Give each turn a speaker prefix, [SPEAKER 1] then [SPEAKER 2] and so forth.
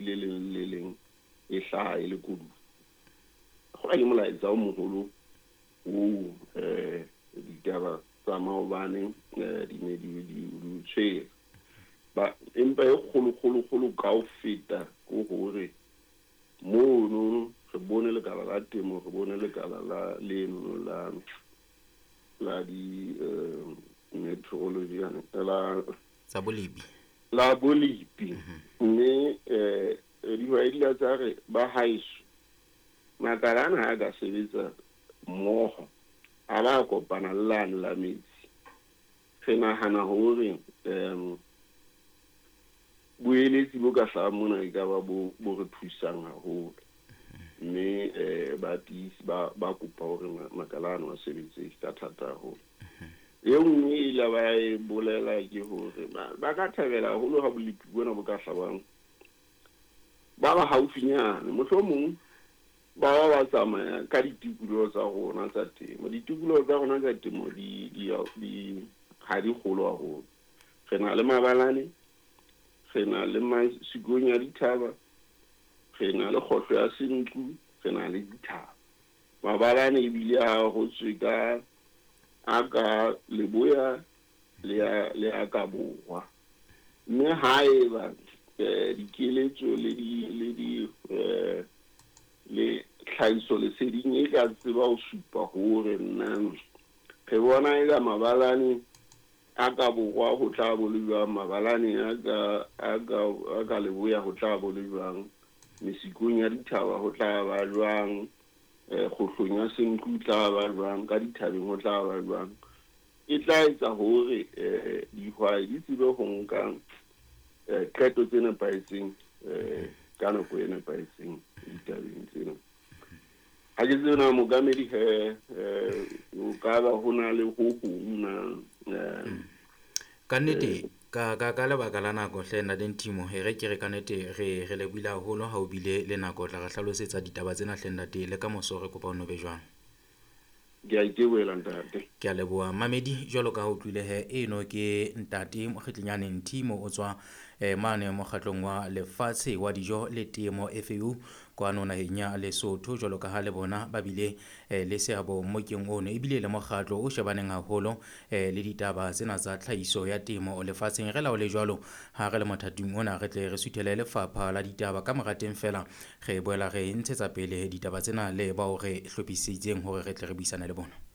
[SPEAKER 1] Le leng le leng e hlaha e le koduwa. Kgola ke molaetsa o moholo oo ditaba tsa maobane di ne di o tshwere. Ba empa e kgolo kgolo kgolo ka ho feta ke hore mono re bone lekala la temo, re bone lekala la leno la la di meteorology la
[SPEAKER 2] tsa bolepi.
[SPEAKER 1] La bolepi. Mme dihwai di la tsa re ba haeso makala ana ha a ka sebetsa mmoho, a ba kopana le lane la metsi, re nahana hore boeletsi bo ka hlahang mona e ka ba bo re thusang haholo. Mme ba tiisi ba kopa hore makala ano a sebetse ka thata haholo. E nngwe e ile ba e bolela ke hore ba ka thabela haholo ha bolepi bona bo ka hlabang ba ba haufinyane, mohlomong ba ba ba tsamaya ka ditikoloho tsa rona tsa temo. Ditikoloho tsa rona tsa temo di ha di kgolo haholo. Re na le mabalane, re na le masikong ya dithaba, re na le kgohlo ya Sentlu, re na le dithaba. Mabalane ebile a hotswe ka a ka leboya le a ka borwa. Mme haeba dikeletso le di le di le tlhahiso leseding e ka tseba ho supa hore nna re bona e ka mabalane a ka borwa ho tla bo le jwang, mabalane a ka leboya ho tla bo le jwang, mesikong ya dithaba ho tla ba jwang, kgohlong ya Sentlu tla ba jwang, ka dithabeng ho tla ba jwang. E tla etsa hore dihwai di tsebe ho nka qeto tse nepahetseng ka nako e nepahetseng ditabeng tsena. Ha ke tsebe na mookamedi he o ka ba ho na le ho hong na.
[SPEAKER 2] Ka nnete ka lebaka la nako hle ntate Nthimo, e re ke re ka nnete re lebohile haholo ha o bile le nako tla re hlalosetsa ditaba tsena hle ntate, le ka moso re kopa o no be jwang.
[SPEAKER 1] Ke a itebohela ntate.
[SPEAKER 2] Ke a leboha mamedi, jwalo ka ha o utlwile he eno ke ntate Mokgetlenyane Nthimo o tswa mane mokgatlong wa lefatshe wa dijo le temo FAO kwano naheng ya Lesotho, jwalo ka ha le bona ba bile le seabo mmokeng ono, ebile le mokgatlo o shebaneng haholo le ditaba tsena tsa tlhahiso ya temo lefatsheng. Re laole jwalo ha re le mothating ona, re tle re suthele lefapha la ditaba ka mora teng fela re boela re ntshetsa pele ditaba tsena le bao re hlophisitseng hore re tle re buisane le bona.